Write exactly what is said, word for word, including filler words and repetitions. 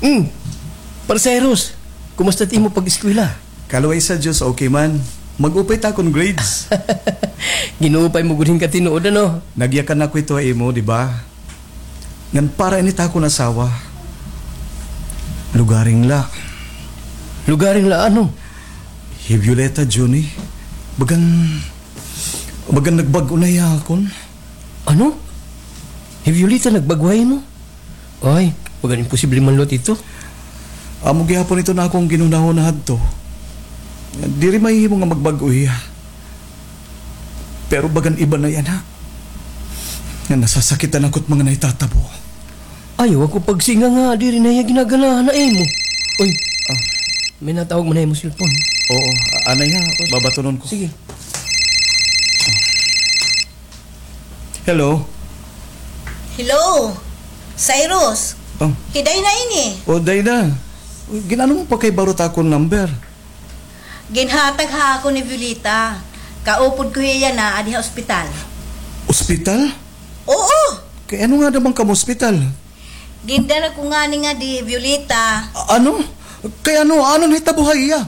Hmm. Par Cyrus, kumusta it imo pag-eskwela? Kaluway sa Diyos, okay man. Mag-upay ta akon grades. Gin-upay mo gud hin katinuod, ano? Nagyakan ako ito ha imo, di ba? Ngan para ini ta akon asawa. Lugaring la. Lugaring la ano? Hi Violeta, Junie. Bagan, bagan nagbag-o na hiya ha akon. Ano? Hi Violeta nagbag-o ha imo? Ay, bagan imposible man liwat ito. Amo gihapon ito an akon ginhunahuna hadto. Diri mahihimo nga magbag-o hiya. Pero bagan iba na yana. Nga nasasakitan ako hit mga nahitatabo. Ayaw ako pagsinga nga diri na hiya ginaganahan ha imo. Uy, ah, may natawag man ha imo cellphone. Oo, anay ha, babatonon ko. Sige. Hello? Hello? Cyrus? Oh. Hi Dayna ini. Oh, Dayna. Gin-ano mo pa kay baro ta akon number? Ginhatag ha akon ni Violeta. Kaupod ko hiya yana adi ha ospital. Ospital? Oo. Kay ano ngada man kamo ospital? Gindala ko ngani ngadi hi Violeta. A-, ano? Kay ano? Ano nahitabo ha iya?